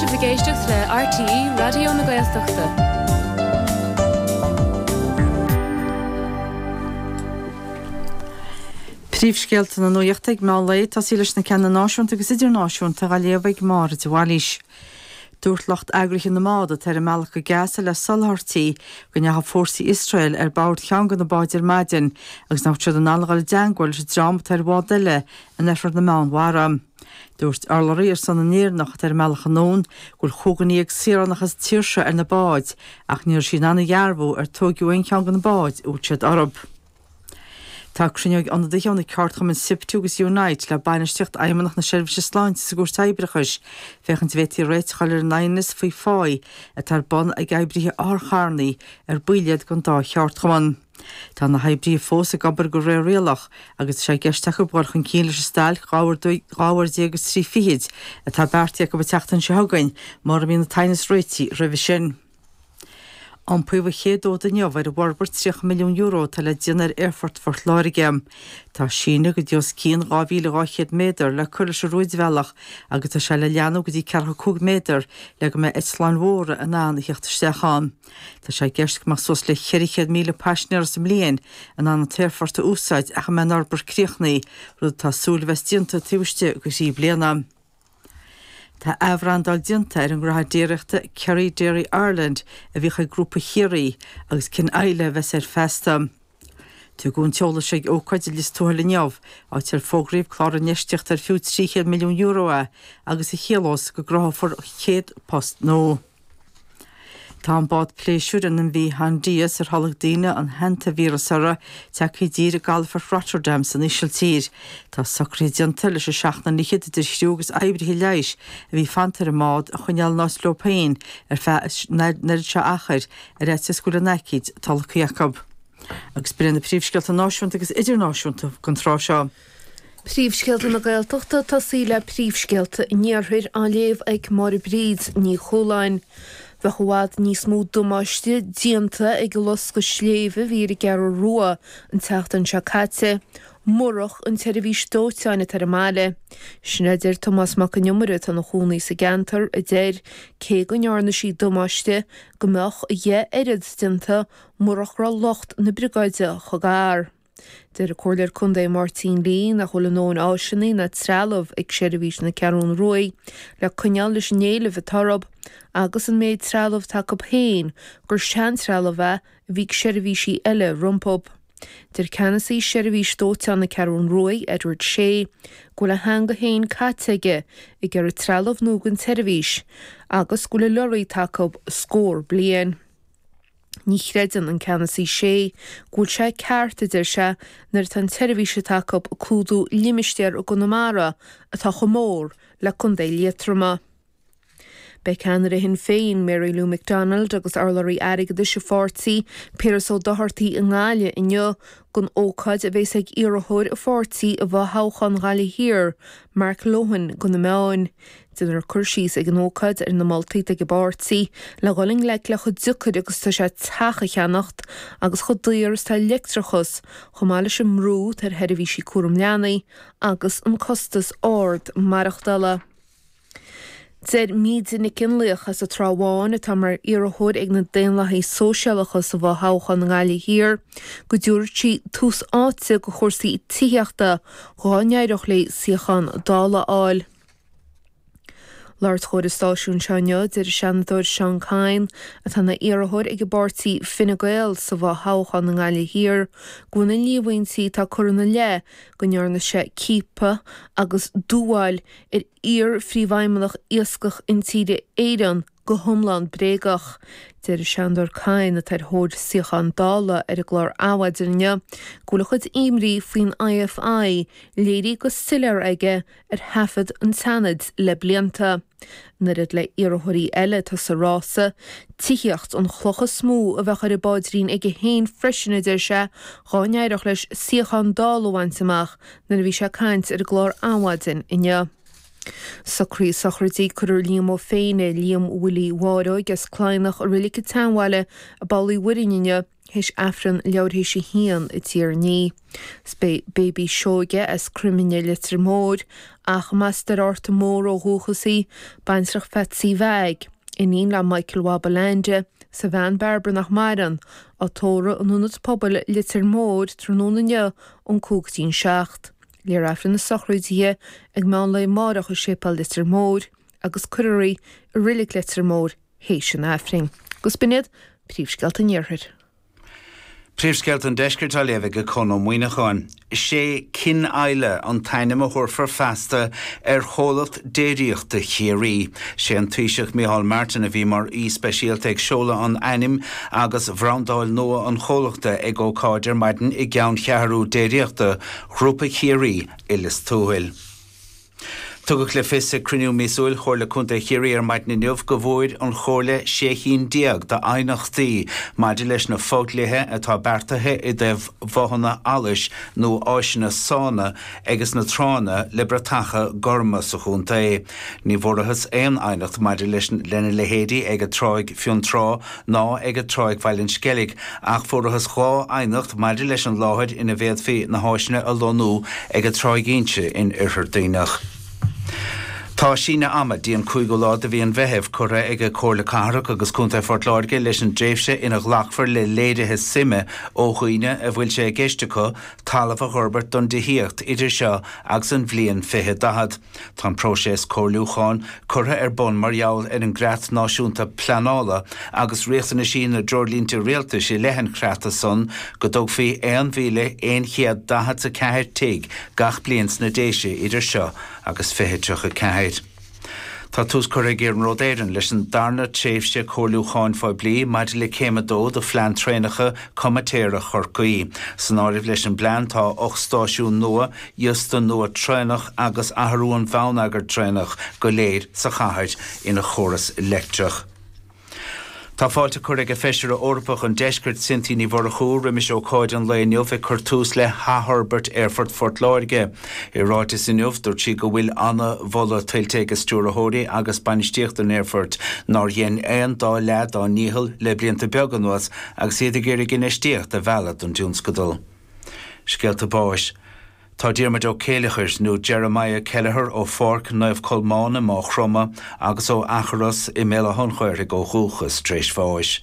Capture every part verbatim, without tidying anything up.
sibh ag éisteacht le RTÉ Raidió na Gaeltachta. Príomhscéalta na nuachta ag meán lae tosaí leis na ceanna náisiúnta agus idirnáisiúnta á léamh ag Máire de Bhailís. Dúirt lucht eagraithe na mbád atá ar a mbealach go Gaza le soláthairtí go ndeachaigh fórsaí Iosrael ar bord cheann de na báid ar maidin agus nach raibh siad in ann a dhul i dteagmháil leis an dream atá ar bhád eile in oirthear na Meánmhara. Dúirt urlabhraí ar son na nÉireannach atá ar a mbealach anonn go bhfuil chúig dhuine dhéag saoránach as an tír seo ar na báid ach ní raibh sí in ann a dhearbhú ar tóigeadh aon cheann de na báid a bhfuil siad orthu. Tá cruinniú ag ionadaithe ó na ceardchumainn SIPTU agus Unite le bainistíocht Fheidhmeannacht na Seirbhíse Sláinte sa gCúirt Oibreachais féachaint an bhféadfaí réiteach a fháil ar an aighneas faoi phá atá ar bun ag oibrithe otharcharranna ar baill iad den dá cheardchumann. Tá na hoibrithe fós ag obair de réir rialach agus tá sé i gceist acu dul chun cinn leis an stailc dhá uair déag agus trí fichid atá beartaithe acu an tseachtain seo chugainn mura mbíonn an t-aighneas réitithe roimhe sin. Iompaíodh an chéad fhód inniu ar an bhforbairt tríocha milliún euro atá le déanamh ar Aerfort Phort Láirge. Tá síneadh go dtí os cionn dhá mhíle dhá chéad méadar le cur leis an rúidbhealach agus tá sé le leathnú go dtí ceathracha cúig méadar le go mbeidh eitleáin mhóra in ann a theacht isteach ann. Tá sé i gceist go mbeadh suas le ceithre chéad míle paisinéir sa mbliain in ann an t-aerfort a úsáid ach a mbeidh an fhorbairt críochnaithe, rud atá súil a bheas déanta taobh istigh de thrí bliana. Tá athbhrandáil déanta ar an ngnóthaí déiríochta Kerry Dairy Ireland a bhíodh ag Grúpa Chiarraí agus cinn eile a bheas air feasta. Tugadh an t-eolas seo ag ócáid i Lios Tuathail inniu, áit ar fógraíodh clár infheistíochta ar fiú trí chéad milliún euro é agus a chiallós go gcruthófar céad post nua. Tá an bád pléisiúir an MV Hondius ar tholg daoine an hantavíreas orthu tagtha i dtír i gcalafort Rotterdam san Ísiltír. Tá socruithe déanta leis an seacht nduine fhichead idir chriú agus oibrithe leighis a bhí fanta ar an mbád a choinneáil in áit leo féin ar feadh an oiread seo achair ar fhaitíos go bhfuil an aicíd tolgtha acu. Agus b'in na príomhscéalta náisiúnta agus idirnáisiúnta don tráth seo. Príomhscéalta na Gaeltachta tosaí le príomhscéalta an Iarthair á léamh ag Máire Bríd Ní Chualáin. Bheadh i bhfad níos mó damáiste déanta ag an loscadh sléibhe a bhí ar an gCeathrú Rua an tseachtain seo caite, murach an tseirbhís dóiteáin atá ar an mbaile. Sin a deir Tomás Mac Con Iomaire atá ina chónaí sa gceantar, a deir, cé go ndearna sí damáiste, go mbeadh a dheich oiread déanta murach go raibh lucht na briogáide chomh gar. Deir an Comhairleoir Contae Máirtín Lee nach bhfuil a ndóthain áiseanna ná trealamh ag seirbhís na Ceathrún Ruaidh le coinneáil leis an éileamh atá orthu agus an méid trealamh atá acu féin gur seantrealamh é a bhí ag seirbhísí eile rompu. Deir ceannasaí Seirbhís Dóiteáin na Ceathrún Ruaidh, Edward Shea, go bhfuil a theanga féin caite aige ag iarraidh trealamh nua don tseirbhís agus go bhfuil an lorry atá acu scór bliain. Ní chreideann an ceannasaí Shea go bhfuil sé ceart, a deir sé, nuair atá an tseirbhís atá acu ag clúdú limistéar i gConamara atá chomh mór le Contae Liatroma. Beidh ceannaire Shinn Féin, Mary Lou McDonald agus urlabhraí airgeadais an pháirtí, Piaras Ó Dochartaigh i nGaillimh inniu don ócáid a bheas ag iarrthóir an pháirtí i bhfothoghchán Ghaillimh Thiar, Mark Lohan, do na meáin. Déanfar cur síos ag an ócáid ar na moltaí atá ag an bpáirtí le dhul i ngleic le chomh deacair agus atá sé teach a cheannacht agus chomh daor is atá leictreachas, chomh maith leis an mbrú atá ar sheirbhísí cúram leanaí agus an costas ard maireachtála. Deir Míde Nic Fhionnlaoich as an Trá Bháin, atá mar iarrthóir ag na Daonlathaithe Sóisialacha sa bhfothoghchán i nGaillimh Thiar, go dtabharfadh sí tús áite do chúrsaí tithíochta dhá n-éireodh léi suíochán Dála a fháil. Labhairt chóir an stáisiúin seo inniu, deir an Seanadóir Seán Kyne, atá ina iarrthóir ag an bpáirtí Fine Gael sa bhfothoghchán i nGaillimh Thiar, go bhfuil na líomhaintí atá curtha ina leith go ndearna sé ciapadh agus dúmhál ar iar-phríomhfheidhmeannach Iascach Intíre Éireann go hiomlán bréagach. Deir an Seanadóir Kyne, atá ar thóir suíochán Dála ar an gclár Adhmhaidin inniu, go bhfuil a chuid imní faoin IFI léirithe go soiléir aige ar thaifead an tSeanaid le blianta. In oiread le iarrthóirí eile atá sa rása, tithíocht an chloch is mó a bheadh ar an bpaidrín aige féin freisin, a deir sé, dhá n-éireodh leis suíochán Dála a bhaint amach nuair a bhí sé ag caint ar an gclár Adhmhaidin inniu. Socruithe sochraide cuirfear Liam Ó Féinne, Liam Willie Mháireog as Cladhnach i Reilig an tSeanbhaile i bPoll Uí Mhuirinn inniu théis Aifreann leathuair théis a haon i dTír an Fhia. 'S beidh Baby Seoige as Croiminne Leitir Móir ach as Doire Fhárta Mór ó dhúchas í, baintreach Pheatsaí Mheaig, iníon le Michael Mhab Leainde, 's a bhean Bairbre nach maireann, á tórramh in Ionad Pobail Leitir Móir tráthnóna inniu ón cúig go dtí an seacht. Léifear Aifreann na sochraide ag meán lae amárach i Séipéal Leitir Móir agus cuirfear í i Reilig Leitir Móir théis an Aifrinn. Agus b'in iad príomhscéalta an Iarthair. Príomhscéalta an Deiscirt á léamh ag Conn Ó Muíneacháin. Sé Cinn Eile an t-ainm a thabharfar feasta ar chomhlacht déiríochta Chiarraí. Sé an Taoiseach Micheál Martin a bhí mar aoi speisialta ag seoladh an ainm agus bhrandáil nua an chomhlachta ag ócáid ar maidin i gceanncheathrú déiríochta Ghrúpa Chiarraí i Lios Tuathail. Tugadh le fios ag cruinniú míosúil Chomhairle Contae Chiarraí ar maidin inniu go bhfuair an Chomhairle sé cinn déag d'aighneachtaí maidir leis na fodhlíthe atá beartaithe i dtaobh bhothanna allais nó áiseanna sána agus na tránna le bratacha gorma sa chontae. Ní bhfuarthas aon aighneacht maidir leis lena leithéidí ag Tráigh Fionntrá ná ag Tráigh Bhaile an Sceilg, ach fuarthas dhá aighneacht maidir leis an láthair ina bhféadfaí na háiseanna a lonnú ag Tráigh Inse in Oirthear Duibhneach. Tá síneadh ama dtí an cúigiú lá de mhí an Mheithimh curtha ag Comhairle Cathrach agus Contae Phort Láirge leis an dtréimhse ina ghlacfar le léirithe suime ó dhaoine a bhfuil sé i gceist acu talamh a fhorbairt don tithíocht idir seo agus an bhliain fiche daichead. Tá an próiseas comhairliúcháin curtha ar bun mar gheall ar an gcreat náisiúnta pleanála agus riachtanaisí na dtreoirlínte rialtais i leith an chreata san go dtógfaí aon mhíle aon chéad daichead a ceathair tigh gach bliain sna Déise idir seo agus fiche tríocha ceathair. Tá tús curtha ag Iarnród Éireann leis an darna tréimhse comhairliúcháin phoiblí maidir le céim a dó de phlean traenacha comaitéara Chorcaí. San áireamh leis an bplean tá ocht stáisiún nua, iosta nua traenach agus athrú an bhonneagair traenach go léir sa chathair ina chóras leictreach. Tá fáilte curtha ag Feisire Eorpach an Deiscirt Cynthia Ní Mhurchú roimis ócáid an lae inniu ag cur tús le hathfhorbairt Aerfort Phort Láirge. I ráiteas inniu dúirt sí go bhfuil an-mholadh tuillte ag stiúrthóirí agus bainistíocht an aerfoirt nár dhein aon dá leath dá ndícheall le blianta beaga anuas agus iad ag iarraidh infheistíocht a mhealladh don tionscadal. Scéalta báis. Tá Diarmuid Ó Céileachair nó Jeremiah Kelleher ó Pháirc Naomh Colmán i Maigh Chromtha agus ó Eachros i mBéal Átha an Ghaorthaidh ó dhúchas tar éis bháis.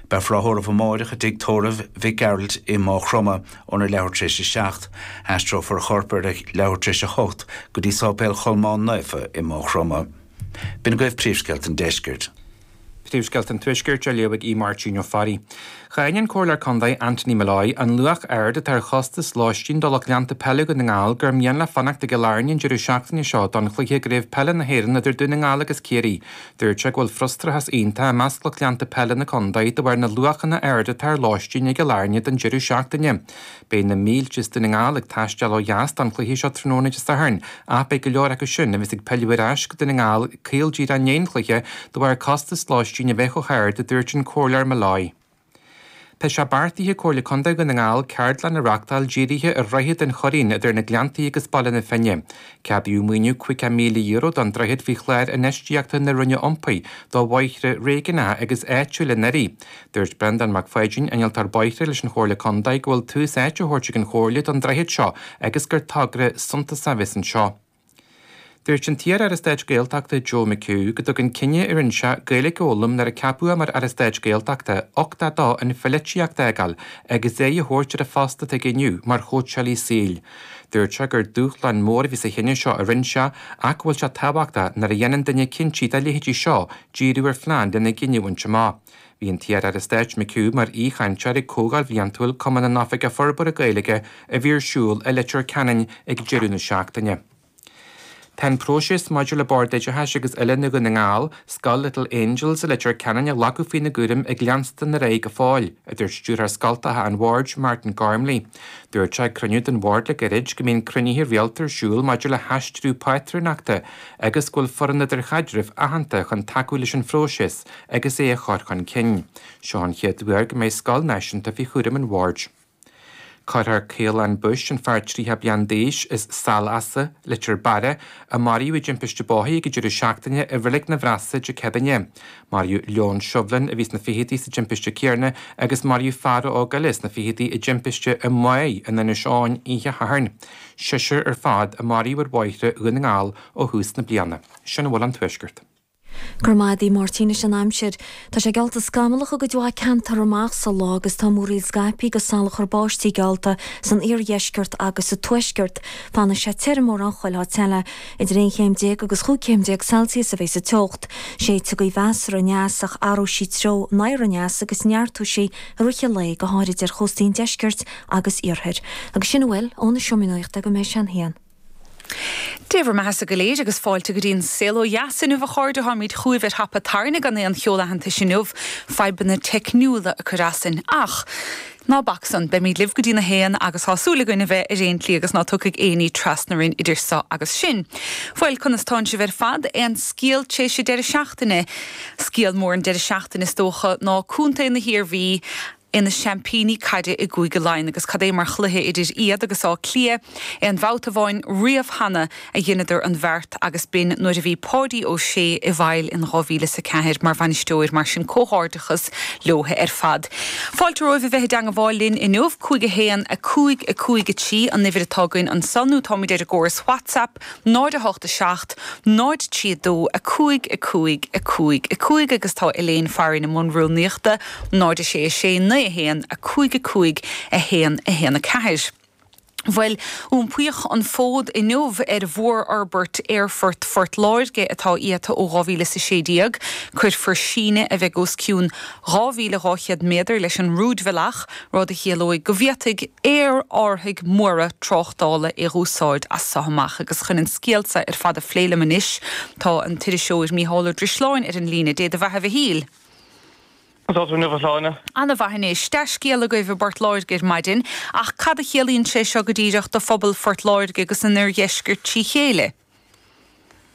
Beifear á thórramh amárach i dtigh tórraimh Mhic Gearailt i Maigh Chromtha óna leathuair tar éis a seacht. Aistreofar a chorp ar a leathuair tar éis a hocht go dtí Sáipéal Cholmáin Naofa i Maigh Chromtha. B'in agaibh príomhscéalta an Deiscirt. Príomhscéalta an Tuaiscirt á léamh ag Máirtín Ó Fearraigh. Cháin an Comhairleoir Contae Anthony Molloy an luach ard atá ar chostas lóistín do lucht leanta peile Dhún na nGall gur mian leo fanacht i gCill Airne an deireadh seachtaine seo don chluiche i gCraobh Peile na hÉireann idir Dún na nGall agus Ciarraí. Dúirt sé go bhfuil frustrachas iontach i measc lucht leanta peile na contae de bharr na luachanna ard atá ar lóistín i gCill Airne don deireadh seachtaine. Beidh na mílte as Dún na nGall ag taisteal ó dheas don chluiche seo tráthnóna Dé Sathairn, ach beidh go leor acu sin a bheas ag pilleadh ar ais go Dún na nGall caol díreach i ndiaidh an chluiche de bharr costas lóistín a bheith chomh hard a dúirt an Comhairleoir Molloy. Tá sé beartaithe ag Comhairle Contae Dhún na nGall ceardlann a reáchtáil dírithe ar Dhroichead an Choirín idir na Gleanntaí agus Baile na Finne. Ceadaíodh maoiniú caoga míle euro don droichead faoi chlár infheistíochta na Roinne Iompair do bhóithre réigiúnacha agus áitiúla anuraidh. Dúirt Breandán Mac Pháidín, innealtóir bóithre leis an Chomhairle Contae go bhfuil tús áite á thabhairt ag an Chomhairle don droichead seo agus gur togra suntasach a bheas anseo. Dúirt an t-iar-aire stáit Gaeltachta Joe McHugh go dtugann cinneadh a rinne sé Gaeilge a fhoghlaim nuair a ceapadh é mar Aire Stáit Gaeltachta uchtach dó an pholaitíocht a fhágáil agus aghaidh a thabhairt ar an phost atá aige inniu mar chóitseálaí saoil. Dúirt sé gur dúshlán mór a bhí sa chinneadh seo a rinne sé ach go bhfuil sé tábhachtach nuair a dhéanann duine cinntí dá leithéidí seo díriú ar phlean lena gcinneadh a bhaint amach. Bhí an t-iar-aire stáit McHugh mar aoichainteoir ag Comhdháil Bhliantúil Cumann na nOifigeach Forbartha Gaeilge a bhí ar siúl i Leitir Ceanainn ag deireadh na seachtaine. Tá an próiseas maidir le Bord Oideachais agus Oiliúna Dhún na nGall, Scoil Little Angels i Leitir Ceanainn a ghlacadh faoina gcúram ag leanstan ar aghaidh go fóill, a dúirt stiúrthóir scoltacha an bhoird Martin Gormley. Dúirt sé ag cruinniú den bhord le gairid go mbíonn cruinnithe rialta ar siúl maidir le haistriú pátrúnachta agus go bhfuil foireann idirchaidrimh aitheanta chun tacú leis an phróiseas agus é a chur chun cinn. Seo an chéad uair go mbeidh scoil náisiúnta faoi chúram an bhoird. Cuirfear Caolán Bush, an fear tríocha bliain d'aois as Sail Easa, Leitir Beara, a maraíodh i dtimpiste bóthair ag an deireadh seachtaine i Reilig na Bhreasa Dé Céadaoine. Maraíodh Leon Shovlin a bhí sna fichidí sa timpiste céanna agus maraíodh fear óg eile sna fichidí i dtimpiste i Maigh in Inis Eoghain oíche Shathairn. Seisear ar fad a maraíodh ar bhóithre Dhún na nGall ó thús na bliana. Sin a bhfuil ón Tuaisceart. Go raibh maith agat Máirtín anois an aimsir. Tá sé geallta scamallach i gcuid mhaith ceantar amach sa lá agus tá múraíl scaipthe agus salachar báistí geallta san iardheisceart agus sa tuaisceart. Fanfaidh sé tirim mórán chuile áit eile. Idir aon chéim déag agus chúig chéim déag Celsius a bheidh sa teocht. Séidfidh gaoth mheasartha aneas ach athróidh sí treo anoir aneas agus neartóidh sí i rith an lae go háirid ar chóstaí an deiscirt agus iarthair. Agus sin a bhfuil ón seomra nuachta go mbeidh sé an haon. Dé bhur mbeatha go léir agus fáilte go dtí an saol ó dheas inniu a chairde táimid chugaibh ar thapa tairne gan aon cheol aitheantais inniu, fadhbanna teicniúla ag cur asainn ach ná bac san, beimid libh go dtí a haon agus tá súil againn a bheith ar aon tslí agus ná tiocfaidh aon ní trasna orainn idir seo agus sin. Bhuel, conas tánn sibh ar fad? Aon scéal tar éis an deireadh seachtaine? Scéal mór an deireadh seachtaine is dócha ná Contae na hIarmhí ina seaimpíní caide i gCúige Laighean agus cad é mar chluiche idir iad agus Áth Cliath aon bhabhta amháin riamh cheana a dheineadar an bheart agus b'in nuair a bhí Páidí Ó Sé i bhfeighil in dhá mhíle is a ceathair mar bhainisteoir mar sin comhghairdeachas leo ar fad. Fáilte romhaibh a bheith i dteangmháil linn inniu cúig a haon a cúig a cúig a trí an uimhir atá againn ansan nó táimid ar an gcóras WhatsApp náid a hocht a seacht, náid trí a dó, a cúig, a cúig, a cúig, a cúig agus tá Elaine Farren i mbun rúnaíochta, náid a sé, a sé, naoi a haon, a cúig, a cúig, a haon, a haon, a ceathair. Bhuel, iompaíodh an fód inniu ar mhórfhorbairt Aerfort Phort Láirge atá iata ó dhá mhíle is a sé déag. Cuirfear síneadh a bheidh os cionn dhá mhíle dhá chéad méadar leis an rúidbhealach, rud a chiallóidh go bhféadfaidh aerárthaigh móra tráchtála é a úsáid as seo amach. Agus chun an scéal seo ar fad a phlé liom anois, tá an t-iriseoir Mícheál Ó Drisleáin ar an líne. Dé do bheatha a Mhichíl. Conas tá tú inniu a Shláine? Ana-mhaith anois. Dea-scéal agaibh i bPort Láirge ar maidin, ach cad a chiallaíonn sé seo go díreach do phobal Phort Láirge agus an oirdheiscirt trí chéile?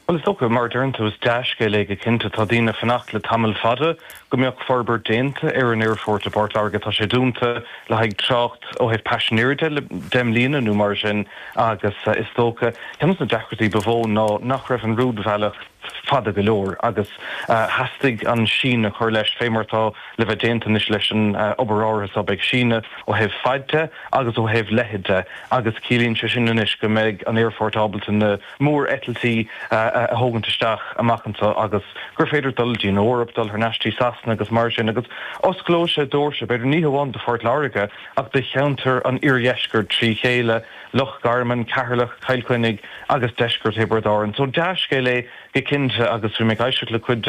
Bhuel, is dócha, mar a deireann tú, is dea-scéal é go cinnte. Tá daoine ag fanacht le tamall fada go mbeadh forbairt déanta ar an aerfort i bPort Láirge. Tá sé dúnta le haghaidh trácht ó thaobh paisinéirí de le deich mbliana nó mar sin agus is dócha, ceann de na deacrachtaí ba mhó ná nach raibh an rúidbhealach fada go leor agus theastaigh an síneadh a chur leis, fé mar atá le bheith déanta anois leis an obair áirithe seo. Beidh síneadh ó thaobh faid de agus ó thaobh leithid de agus ciallaíonn sé sin anois go mbeidh an aerfort ábalta na mór-eitiltí a thógaint isteach amach anseo agus gur féidir dul dtí an Eoraip, dul thar n-ais dtí Sasana agus mar sin agus osclóidh sé doirse, b'fhéidir ní hamháin do Phort Láirge ach do cheantar an iardheiscirt trí chéile, Loch Garman, Ceatharlach, Cill Chainnigh agus deisceart Thiobraid Árann. So dea-scéal é go cinnte agus bhí mé ag éisteacht le cuid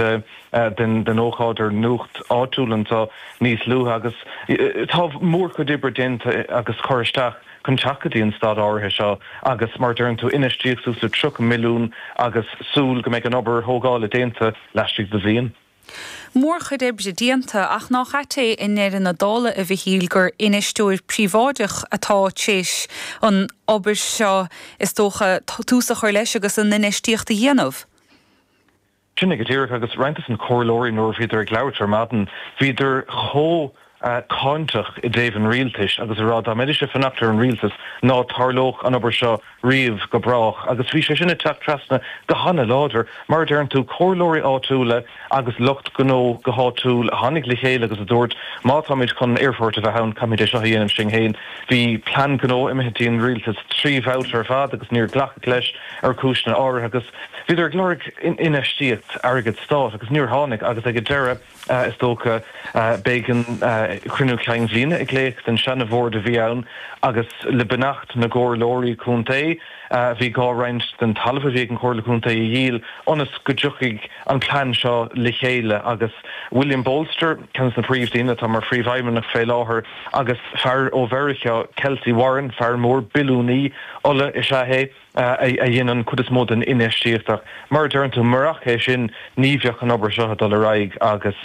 den ócáid ar nuacht áitiúil anseo níos luaithe agus tá mórchuid oibre déanta agus cur isteach chun teacht go dtí an staid áirithe seo agus mar a deireann tú infheistíodh suas le tríocha milliún agus súil go mbeidh an obair thógála déanta laistigh de bhliain. Mórchuid oibre déanta, ach nach ait é i ndeireadh na dála, a Mhichíl, gur infheisteoir príobháideach atá tar éis an obair seo, is dócha, tús a chur leis agus an infheistíocht a dhéanamh? Sin é go díreach, agus roinnt de na comhairleoirí nuair a bhíodar ag labhairt ar maidin, bhíodar chomh cáinteach i dtaobh an rialtais agus ag rá dá mbeidís ag fanacht ar an rialtas ná tarlódh an obair seo riamh go brách agus bhí sé sin ag teacht trasna go hana-láidir. Mar a deireann tú, comhairleoirí áitiúla agus lucht gnó go háitiúil a tháinig le chéile agus a dúirt má táimid chun aerfort a bheith ann caithfimid é seo a dhéanamh sinn féin. Bhí plean gnó imithe dtí an rialtas trí bhabhta ar fad agus níor glacadh leis ar chúiseanna áirithe agus bhíodar ag lorg infheistíocht airgead stáit agus níor tháinig agus ag an deireadh is dócha b'éigean cruinniú cinn bhliana a ghlaoch den seana-bhord a bhí ann agus le beannacht na gcomhairleoirí contae bhí gá roinnt den talamh a bhí ag an Chomhairle Contae a dhíol ionas go dtiocfaidh an plean seo le chéile agus William Bolster, ceann de na príomhdaoine atá mar phríomhfheidhmeannach fé láthair agus fear ó Mheiriceá, Kelcy Warren, fear mór billiúnaí ola is ea é. a dhein an chuid is mó den infheistíocht ach mar a deireann tú, murach é sin ní bheadh an obair seo ag dul ar aghaidh agus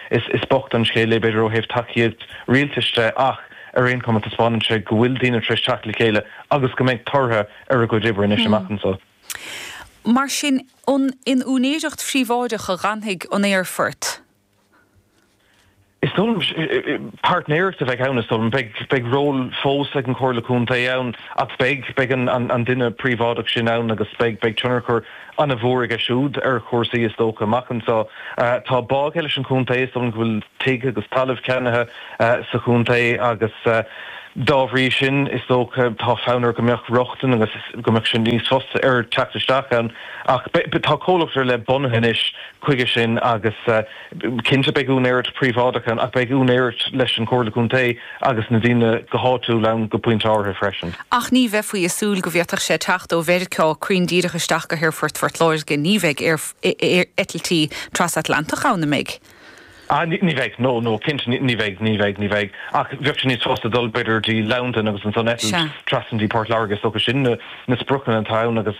is bocht an scéal é b'fhéidir ó thaobh tacaíocht rialtais de ach ar aon chuma taispeánann sé go bhfuil daoine tar éis teacht le chéile agus go mbeidh tortha ar a gcuid oibre anois amach anseo. Mar sin, an in úinéireacht phríobháideach a dh'fhanfaidh an aerfort? Is dóigh liom páirtnéireacht a bheidh ann, is dóigh liom. Beidh, beidh ról fós ag an Chomhairle Contae ann ach beidh, beidh an, an, an duine príobháideach sin ann agus beidh, beidh tionchar an-mhór aige siúd ar chúrsaí is dócha amach anseo. Tá bá aige leis an chontae, is dóigh liom go bhfuil tigh agus talamh ceannaithe sa chontae agus dá bhrí sin is dócha tá fonn air go mbeadh rochtain agus go mbeadh sé níos fusa air teacht isteach ann. Ach tá comhlacht ar leith bunaithe anois chuige sin agus cinnte beidh úinéireacht príobháideach ann ach beidh úinéireacht leis an Chomhairle Contae agus na daoine go háitiúil ann go pointe áirithe freisin. Ach ní bheifí ag súil go bhféadfadh sé teacht ó Mheiriceá cruinn díreach isteach go hAerfort Phort Láirge, ní bheidh eitiltí trasatlantach ann, an mbeidh? Ah, ní bheidh, no, no, cinnte ní bheidh, ní bheidh, ní bheidh. Ach bheadh sé níos fusa dul b'fhéidir dtí Londain agus ansan eitilt trasna dtí Port Láirge, is dócha sin na na spriocanna atá ann agus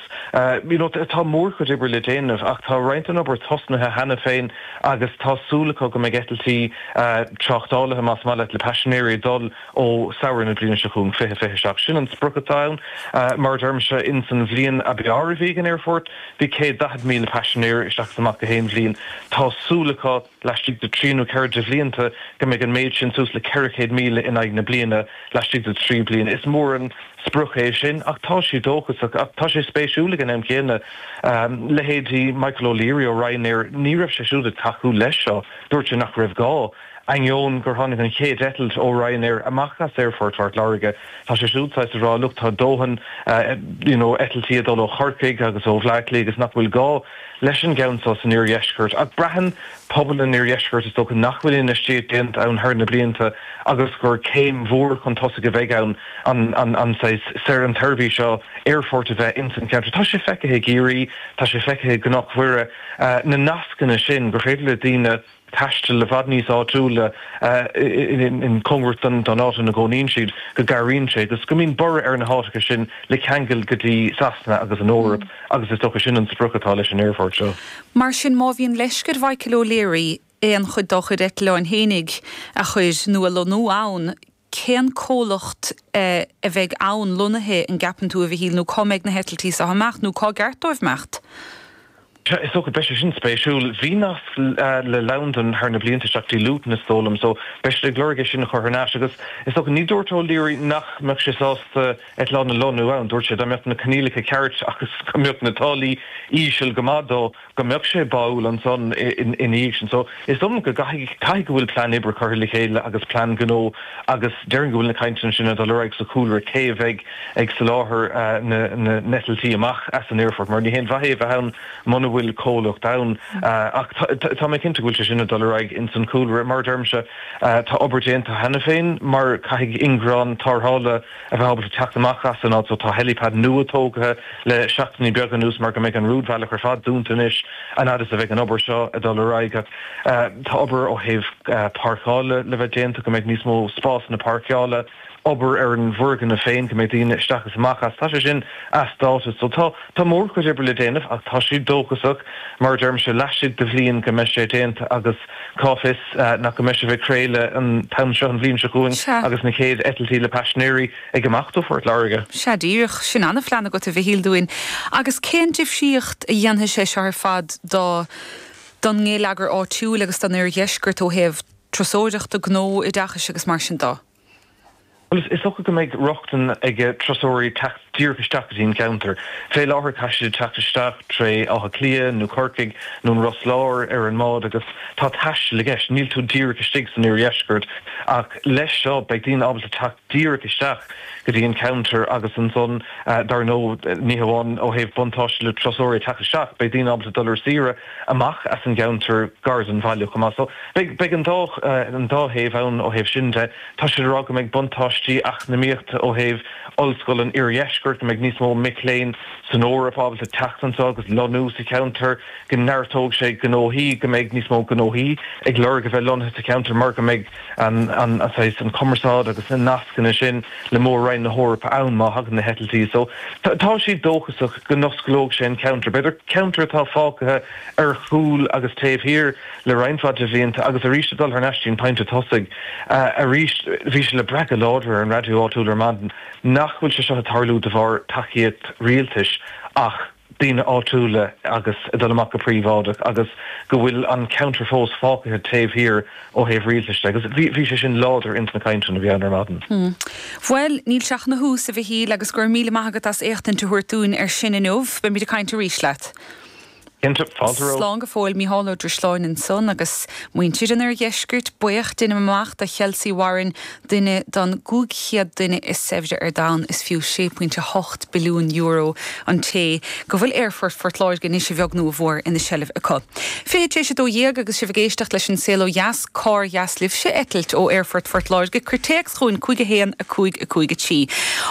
you know tá mórchuid oibre le déanamh ach tá roinnt den obair tosnaithe cheana féin agus tá súil acu go mbeidh eitiltí tráchtálaithe, más maith leat, le paisinéirí ag dul ó samhradh na bliana seo chugainn, fiche fiche seacht. Sin an sprioc atá ann. Mar a deirimse, ins an bhliain ab fhearr a bhí ag an aerfort, bhí céad daichead míle paisinéir isteach is amach gach aon bhliain. Tá súil acu laistigh de trí nó ceithre de bhlianta go mbeidh an méid sin suas le ceithre chéad míle in aghaidh na bliana laistigh de trí bliana. Is mór an sprioc é sin ach tá siad dóchasach. Ach tá sé spéisiúil ag an am céanna, leithéidí Michael O'Leary ó Ryanair, ní raibh sé siúd ag tacú leis seo, dúirt sé nach raibh gá. Ainneoin gur tháinig an chéad eitilt ó Ryanair amach as Aerfort Phort Láirge, tá sé siúd saghas ag rá look tá dóthain you know eitiltí ag dul ó Chorcaigh agus ó Bhleá Cliath agus nach bhfuil gá leis an gceann seo san iardheisceart. Ach braitheann pobal an iardheiscirt is dócha nach bhfuil infheistíocht déanta ann thar na blianta agus gur céim mhór chun tosaigh a bheidh ann an an an saghas an tseirbhís seo aerfoirt a bheith ins an cheantar. Tá sé feicthe i gCiarraí, tá sé feicthe i gCnoc Mhuire, na nascanna sin gur féidir le daoine taisteal i bhfad níos áitiúla in cóngarach don áit ina gcónaíonn siad, go gcabhraíonn sé agus go mbíonn borradh ar na háiteacha sin le ceangal go dtí Sasana agus an Eoraip agus is dócha sin an sprioc atá leis an aerfort seo. Mar sin, má bhíonn leisce ar Mhichael O'Leary aon chuid dá chuid eitleáin fhéinig a chur nó a lonnú ann, cén comhlacht a bheidh ann lonnaithe, an gceapann tú, a Mhichíl, nó cá mbeidh na heitiltí seo ag imeacht, nó cá gceart dóibh imeacht? Sea, is dócha, beidh sé sin spéisiúil. Bhí nasc le Londain thar na blianta isteach dtí Luton is dóigh liom, so beidh siad ag lorg é sin a chur thar n-ais. Agus is dócha, ní dúirt O'Leary nach mbeadh sé sásta eitleán a lonnú ann, dúirt sé dá mbeadh na coinníollacha ceart agus go mbeadh na táillí íseal go maith dó, go mbeadh sé báúil ansan ina dhiaidh sin. So is dóigh liom go gcaithfidh, caithfidh go bhfuil plean oibre curtha le chéile agus plean gnó agus déarfainn go bhfuil na cainteanna sin ag dul ar aghaidh sa chúlra, cé a bheidh ag soláthar na n-eitiltí amach as an aerfort mar ní haon mhaith é a bheith ann muna bhfuil comhlacht ann. Ach tá mé cinnte go bhfuil sé sin ag dul ar aghaidh ins an chúlra. Mar a deirimse, tá obair déanta cheana féin mar caithfidh ingearán tarrthála a bheith ábalta teacht amach as an áit so tá helipad nua tógtha le seachtainí beaga anuas mar go mbeidh an rúidbhealach ar fad dúnta anois an fhad is a bheidh an obair seo ag dul ar aghaidh. Ach tá obair ó thaobh páirceála le bheith déanta, go mbeidh níos mó spásanna páirceála. obair ar an bhfoirgneamh féin, go mbeidh daoine isteach is amach as. Tá sé sin as dáta. So tá, tá mórchuid oibre le déanamh ach tá siad dóchasach, mar a deirimse, laistigh de bhliain go mbeidh sé déanta agus cá bhfios nach go mbeidh sibh ag craoladh an t-am seo an bhliain seo chugainn agus na chéad eitiltí le paisinéirí ag imeacht ó Phort Láirge. Sea díreach, sin ana-phlean agat a Mhichíl dúinn. Agus cén difríocht a dhéanfaidh sé seo ar fad do, don ngeilleagar áitiúil agus don oirdheisceart ó thaobh turasóireachta, gnó, oideachais agus mar sin de? Bhuel, is dócha go mbeidh rochtain ag turasóirí teacht díreach isteach go dtí an ceantar. Fé láthair caithfidh siad teacht isteach tré Áth Cliath nó Corcaigh nó an Ros Láir ar an mbád agus tá taisteal i gceist, níl tú díreach istigh san oirdheisceart. Ach leis seo beidh daoine ábalta teacht díreach isteach go dtí an ceantar agus ansan, dar ndóigh, ní hamháin ó thaobh buntáiste le turasóirí teacht isteach, beidh daoine ábalta dul ar saoire amach as an gceantar gar don bhaile chomh maith. So beidh an dá an dá thaobh ann ó thaobh sin de. Tá siad ag rá go mbeidh buntáistí eacnamaíochta ó thaobh Ollscoil an Iardheiscirt, go mbeidh níos mó mic léinn san Eoraip ábalta teacht anseo agus lonnú sa cheantar, go neartóidh sé gnóthaí, go mbeidh níos mó gnóthaí ag lorg a bheith lonnaithe sa cheantar mar go mbeidh an an saghas an cumarsáid agus na nascanna sin le mór-roinn na hEorpa ann má thagann na heitiltí. So tá siad dóchasach go n-osclóidh sé an ceantar. B'fhéidir ceantar atá fágtha ar chúl agus taobh thiar le roinnt mhaith de bhlianta agus arís ag dul thar n-ais dtí an pointe tosaigh arís bhí sé le brath go láidir ar an raidió áitiúil ar maidin nach bhfuil sé seo ag tarlú de bharr tacaíocht rialtais ach daoine áitiúla agus ag dul amach go príobháideach agus go bhfuil an ceantar fós fágtha taobh thiar ó thaobh rialtais de agus bhí sé sin láidir ins na cainteanna a bhí ann ar maidin. Hmm. Bhuel, níl sé ach ina thús, a Mhichíl, agus go raibh míle maith agat as éachtaint a thabhairt dúinn ar sin inniu. Beimid ag caint arís leat. Cinnte, fáilte romhat. Slán go fóill, Mícheál Ó Drisleáin ansan agus muintir an Oirdheiscirt buíoch, deinim amach, do Chelsea Warren, duine den gcúig chéad duine is saibhre ar domhan, is fiú sé pointe hocht billiún euro an té go bhfuil Aerfort Phort Láirge anois a bheag nó a mhór ina seilbh acu. Fiche tar éis a dó dhéag agus sibh ag éisteacht leis an Saol Ó Dheas, cár dheas libhse eitilt ó Aerfort Phort Láirge, cuir téacs chugainn cúig a haon a cúig a cúig a trí.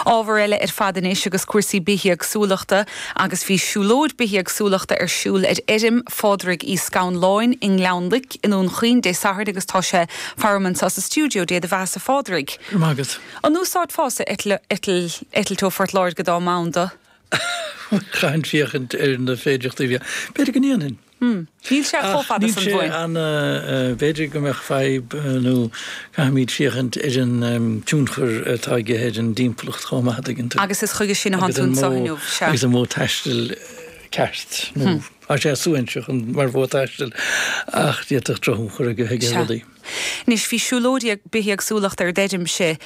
Ábhar eile ar fad anois agus cúrsaí bithéagsúlachta agus bhí siúlóid bithéagsúlachta ar siúl ar fheirm Phádraig Uí Scanláin i nGleann Loic i nDún Chaoin Dé Sathairn agus tá sé faram anseo sa stiúideo. Dé do bheatha-sa a Phádraig. Go raibh maith agat. An úsáidfeása eitilt ó Phort Láirge dá mba ann dó? Chaithfinn féachaint ar na féidearthachtaí a bhí ann. B'fhéidir go ndéanfainn. Níl sé chomh fada san bhuain. B'fhéidir go mbeadh fadhb nó caithfimid féachaint ar an tionchar atá aige ar an dtimpeallacht chomh maith, an dtuigeann tú. Agus is chuige sin atá tú anseo inniu, sea. Agus an modh taistil ceart nó tá sé suaithinseach mar mhodh taistil ach d'fhéadfadh drochthionchar a bheith ag rudaí. Anois bhí siúlóid bithéagsúlachta ar d'fheirmse.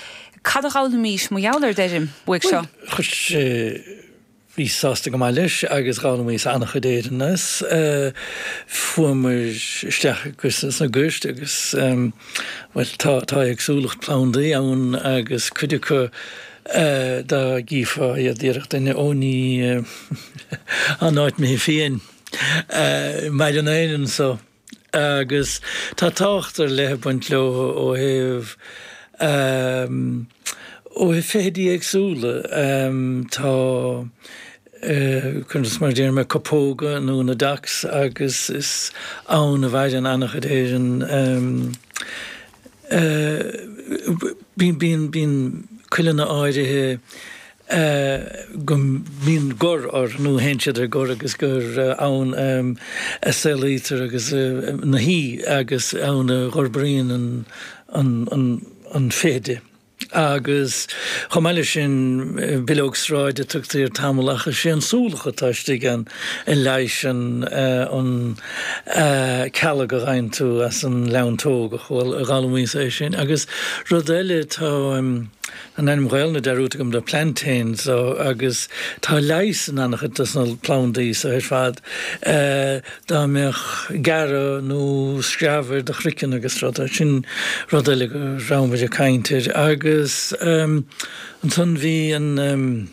Cad a d'fhoghlaimís mar gheall ar d'fheirm uaidh seo? Chuir sé Bhíos sásta go maith leis agus d'fhoghlaimíos an-chuid Éireann as. Fuaimear isteach sna goirt agus, bhuel, tá tá éagsúlacht plandaí ann agus cuid acu dá gcífeá iad déarfadh duine, ó ní an áit imithe fiáin. Maireann éin anso. Agus tá tábhacht ar leith ag baint leo ó thaobh ó thaobh feithidí éagsúla. Tá conas mar a déarfaidh mé, copóga nó na docks agus is ann a mhaireann an-chuid Éireann. Bíonn bíonn cuileanna áirithe go mbíonn gor orthu nó théann siad ar gor agus gur ann a saolaítear agus na hí agus ann a dh'fhorbraíonn an feithide. Agus chomh maith leis sin, bileog sráide a tugtaí air tamall ach is é an súlach atá istigh ann a leighiseann an cealg a fhaigheann tú as an leantóg, a d'fhoghlaimíos é sin. Agus rud eile, tá. An ainm Gaelainne dearúdta agam de plantains agus tá leigheas in an-chuid dos na plandaí so ar fad dá mbeadh gearradh nó screamh ar do chraiceann agus rud sin rud eile go raibh muid ag caint air agus ansan bhí an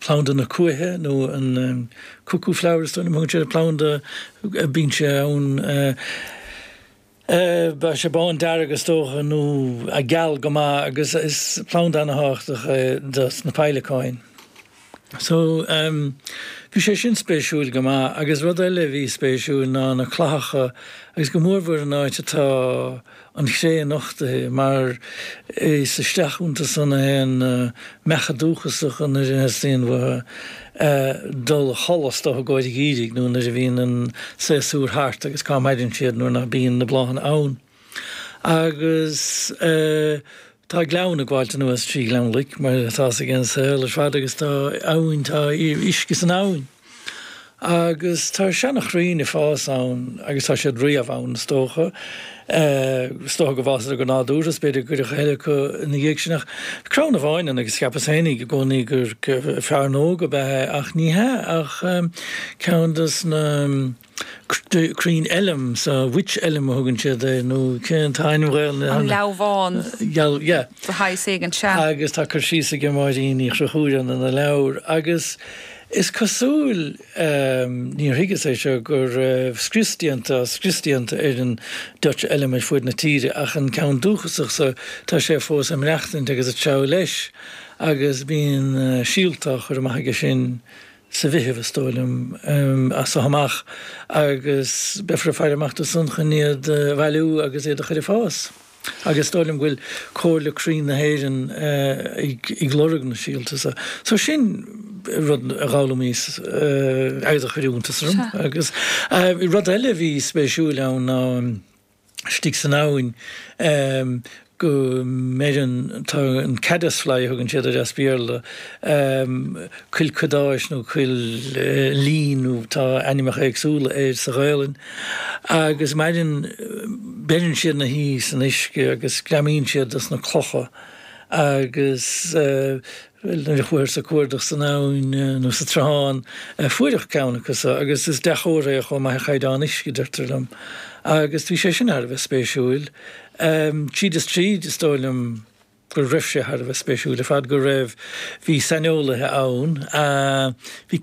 planda na cuaiche nó an cuckoo flower is dóigh liom a thugann siad air planda bíonn sé ann Beidh sé bándearg is dócha, nó geal go maith agus is planda ana-thábhachtach é dos na peidhleacáin. So, bhí sé sin spéisiúil go maith agus rud eile a bhí spéisiúil ná na clathacha agus go mórmhór an áit atá an chré nochtaithe mar is isteach iontu san a théann na meacha dúchasacha nuair a theastaíonn uathu dul a chodladh is dócha i gcomhair an gheimhridh nó nuair a bhíonn an séasúr thart agus cá maireann siad nuair nach bíonn na bláthanna ann. Agus tá gleann ag gabháilt anuas trí Ghleann Loic mar atá fhios ag an saol ar fad agus tá abhainn, tá uisce san abhainn. Agus tá seana-chrainn ag fás ann agus tá siad riamh ann is dócha. Is dócha go bhfásadar go nádúrtha is b'fhéidir gur cuireadh a thuilleadh acu ina dhiaidh sin ach bhí crann amháin ann agus cheapas féinig i gcónaí gur fearnóg ab ea é ach ní hea ach ceann dos na crainn elm so wych elm a thugann siad air nó cén t-ainm Ghaelainne An leamhán yeah. de shaghas éigin, sea. Agus tá cur síos aige Máirín Uí Chonchúir ann ina leabhar agus Is cosúil, níor thuigeas é seo, go raibh scrios déanta, scrios déanta ar an Dutch Elm ar fuaid na tíre ach an ceann dúchasach so tá sé fós ag maireachtaint agus ag treabhadh leis agus bíonn síolta á chur amach aige sin sa Mheitheamh is dóigh liom, as so amach agus beifear ag faire amach dó san chun iad a bhailiú agus iad a chur ag fás. Agus is dóigh liom go bhfuil Comhairle Crainn na hÉireann ag lorg na síolta so. So sin rud a d'fhoghlaimíos agus a chuir iontas orm. Agus rud eile a bhí spéisiúil ann ná istigh san abhainn go mbeireann, tá an caddis fly a thugann siad air as Béarla, cuil cadáis nó cuil lín nó tá ainmneacha éagsúla air sa Ghaelainn, agus maireann, beireann siad ina shuí san uisce agus greamaíonn siad dos na clocha agus bhuel nuair a chuathas ag cuardach san abhainn nó sa tsruthán fuaireadh ceann acu so agus is dea-chomhartha é chomh maith ar chaighdeán uisce deirtear liom agus bhí sé sin thar a bheith spéisiúil. Tríd is tríd is dóigh liom go raibh sé thar a bheith spéisiúil ar fad go raibh, bhí saineolaithe ann, bhí